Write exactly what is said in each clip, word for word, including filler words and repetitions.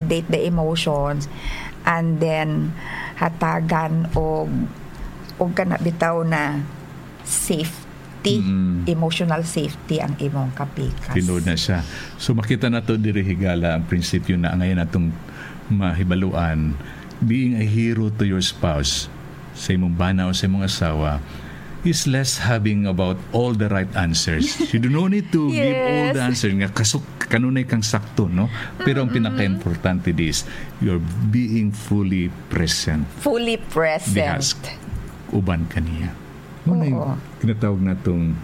validate the emotions, and then hatagan og, og kana bitaw na safety, Mm. emotional safety ang imong kapikas. Tinuod na siya. So, makita nato diri higala ang prinsipyo na ngayon atong mahibaluan, being a hero to your spouse, sa imong bana o sa imong asawa, is less having about all the right answers. You do not need to give all the Yes. answers nga kasuk-, kanunay kang sakto, no? Pero ang Mm-mm. pinaka-importante is you're being fully present. Fully present. Diha s-, uban kaniya. Mao na yung Oo. ginatawag natong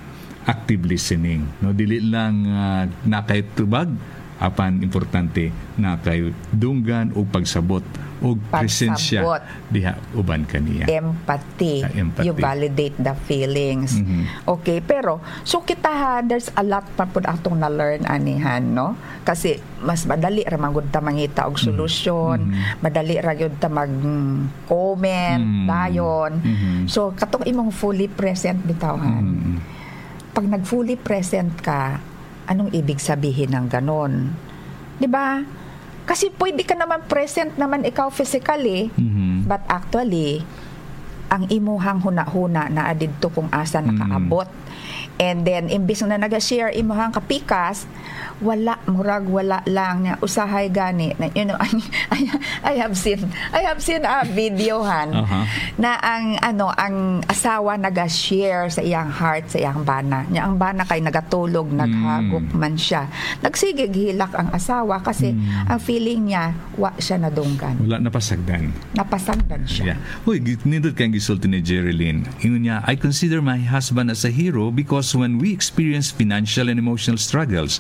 active listening, no? Dili lang, ah, nakay tubag, apan importante nakay dunggan o pagsabot o presensya Pagsabot. diha uban kaniya. Empathy. Ah, empathy. You validate the feelings. Mhm. Okay, pero, so kita ha, there's a lot pa pud atong na-learn anihan, no? Kasi mas madali ra man gud ta mangita og Mhm. solusyon, Mhm. madali ra gyud ta mag, mm, comment, Mm. dayon. Mhm. So, katong imong fully present bitaw, han. Mm. Pag nag-fully present ka, anong ibig sabihin ng ganon? Di ba? Kasi pwede ka naman present naman ikaw physically, Mhm. but actually, ang imuhang hunahuna naa didto kung asa Mm. nakaabot. And then, imbis na naga-share imuhang kapikas, wala, murag wala lang niya. Usahay gani. Na, you know, I, I, I have seen, I have seen a video, han, Aha. na ang, ano, ang asawa naga-share sa iyang heart, sa iyang bana. Nya ang bana kay nagatulog, Mm. naghagok man siya. Nagsigig hilak ang asawa kasi Mm. ang feeling niya, wa siya nadunggan. Wala napasagdan. Napasagdan siya. Yeah. Uy, gi-, nindot kay ang gisulti ni Jerilyn. Ingon niya, "I consider my husband as a hero because when we experience financial and emotional struggles,"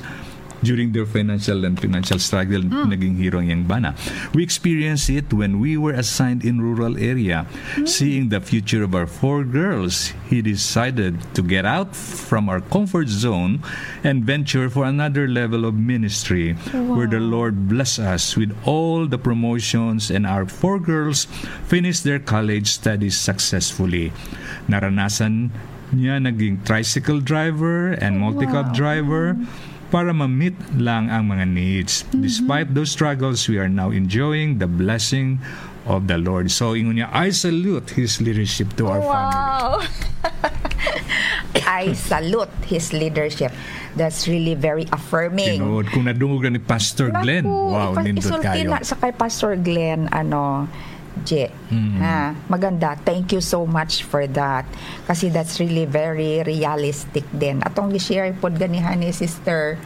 during their financial and financial struggle, Mm. naging hero ang iyang bana. "We experienced it when we were assigned in rural area. Mm. Seeing the future of our four girls, he decided to get out from our comfort zone and venture for another level of ministry, where the Wow. Lord bless us with all the promotions and our four girls finished their college studies successfully. Naranasan niya naging tricycle driver and multicab Wow. driver para ma-meet lang ang mga needs. Mhm. Despite those struggles, we are now enjoying the blessing of the Lord." So, ingon niya, "I salute his leadership to our family." Wow! "I salute his leadership." That's really very affirming. Tinuod, kung nadungog na ni Pastor Glenn, Naku, wow, ipa-, nindot isulti kayo. na sa kay Pastor Glenn, ano, Je, Mm. ha, maganda. Thank you so much for that. Kasi that's really very realistic din. Atong gi-share pod ganihan ni Sister,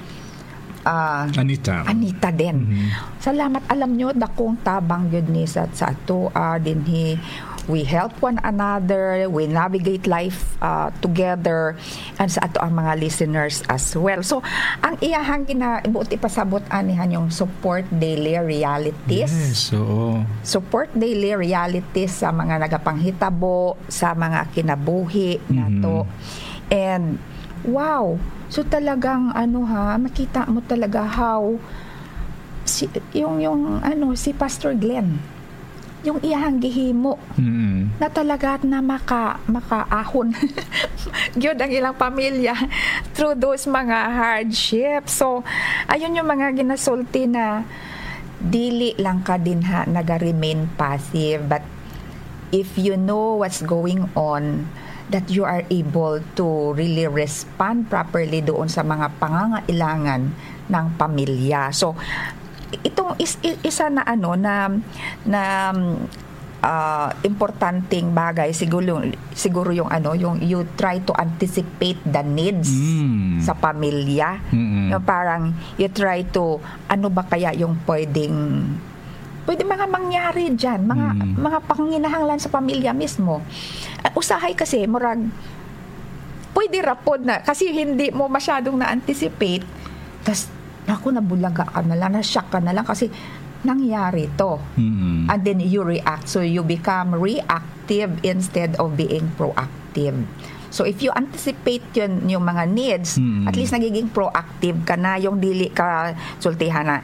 ah, Anita. Anita din. Mhm. Salamat. Alam nyo, dakong tabang yun ni sa, sa ato, ah, dinhi. We help one another, we navigate life, ah, together, and sa ato ang mga listeners as well. So, ang iyahang gina-, buot ipasabot anihan yung support daily realities. Yes, oo. Support daily realities sa mga nagapanghitabo, sa mga kinabuhi Mhm. nato. And, wow, so talagang ano ha, makita mo talaga how si, yung, yung ano, si Pastor Glenn, yung iyahang gihimo Mm. na talaga na maka-, makaahon gyud ang ilang pamilya through those mga hardships. So, ayun yung mga ginasulti na dili lang ka dinha naga-remain passive, but if you know what's going on, that you are able to really respond properly doon sa mga pangangailangan ng pamilya. So, itong is-, i-, isa na ano na, na, ah, importanteng bagay siguro yung, siguro yung ano, yung you try to anticipate the needs Mm. sa pamilya. Mm-mm. Yung parang you try to, ano ba kaya yung pwedeng, pwede mga mangyari dyan, mga, Mm. mga panginahanglan sa pamilya mismo. Ah, usahay kasi, murag, pwede ra pod na, kasi hindi mo masyadong na-anticipate, tas, naku, nabulaga ka na lang, na-shock ka na lang kasi nangyari to. Mm. And then you react, so you become reactive instead of being proactive. So if you anticipate yun, yung mga needs, Mm. at least nagiging proactive ka na, yung dili ka sultihan na,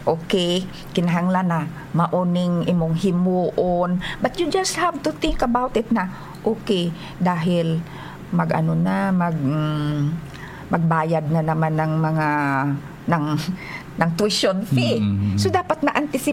okay, kinahanglan na mauning imong himuon. But you just have to think about it na, okay, dahil mag-ano na, mag, mm, magbayad na naman ng mga, ng, ng tuition fee. Mm. So, dapat na-anticipate